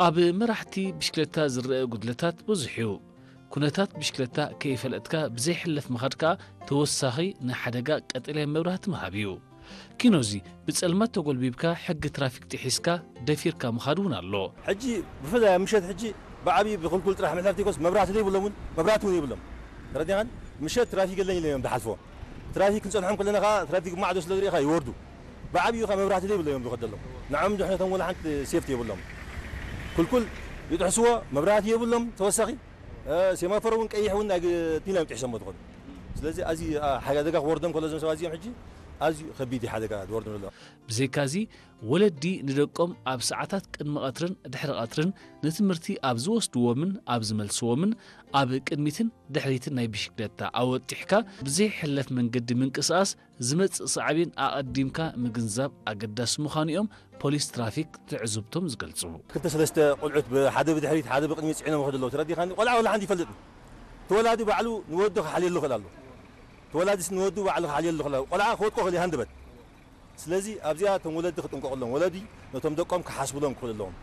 ኣብ መራሕቲ ብሽክለታ ዝረአ ጉድለታት ብዙሕ እዩ። ኩነታት ብሽክለታ ከይፈለጥካ ብዘይሕለፍ ምኻድ ከኣ ተወሳኺ ንሓደጋ ቀጠልያ መብራህቲ ምሃብ እዩ። ኪኖዚ ብጸልማት ተጎልቢብካ ሕጊ ትራፊክ ጥሒስካ ደፊርካ ምኻድ እውን ኣሎ። ሕጂ ብፍላይ ኣብ ምሸት ሕጂ ብዓብዪ ብክልኩል ጥራሕ ምሕላፍ ዘይኮነስ መብራህቲ ዘይብሎም እውን መብራህቲ እውን የብሎም። ተረዲኻን? ምሸት ትራፊክ የለን ኢሎም እዮም ዝሓልፍዎ። ትራፊክ ክንጸንሖም ከለና ከኣ ትራፊክ ማዕዶ ስለ ዝርኢኻ ይወርዱ። ብዓብዪ ከኣ መብራህቲ ዘይብሎም እዮም ዝኸዱ ዘለዉ። ንዖም ድሕነቶም ወላ ሓንቲ ሴፍቲ የብሎም። ኩልኩል ይጥሕስዎ፣ መብራህቲ የብሎም ተወሳኺ። እ፣ ሴማፎር እውን ቀይሕ እውን ናይ ግ-፣ ቲና እዮም ጥሒሶሞ ዝኸዱ። ስለዚ ኣዝዩ፣ ኣ፣ ሓደጋ ክወርዶም ከሎ እዞም ሰባት እዚኦም ሕጂ ኣዝዩ ከቢድ እዩ ሓደጋ ዝወርዶም ዘሎ። ብዘይካዚ ወለዲ ንደቆም ኣብ ሰዓታት ቅድሚ ቀትርን ድሕሪ ቀትርን ንትምህርቲ ኣብ ዝወስድዎምን ኣብ ዝመልስዎምን ኣብ ቅድሚትን ድሕሪትን ናይ ብሽክለታ ኣወጢሕካ ብዘይሕለፍ መንገዲ ምንቅስቓስ ዝመጽእ ሳዕቤን ኣቐዲምካ ምግንዛብ ኣገዳሲ ምዃኑ እዮም ፖሊስ ትራፊክ ትዕዝብቶም ዝገልጹ። ክልተ ሰለስተ ቆልዑት ብ-፣ ሓደ ብድሕሪት ሓደ ብቕድሚት ጽዒኖም ይኸዱ ኣለዉ። ተረዲኻኒ? ቆልዓ ወላ ሓንቲ ይፈልጥን። ተወላዲ ባዕሉ ንወዱ ክሓልየሉ ይኽእል ኣሎ። ተወላዲስ ንወዱ ባዕሉ ክሓልየሉ ይኽእል ኣሎ። ቆልዓ ክወድቆ ይኽእል እዩ ሃንደበት። ስለዚ ኣብዚኣ እቶም ወለዲ ክጥንቀቑሎም፣ ወለዲ ነቶም ደቆም ክሓስብሎም ክኽእሉ ኣለዎም።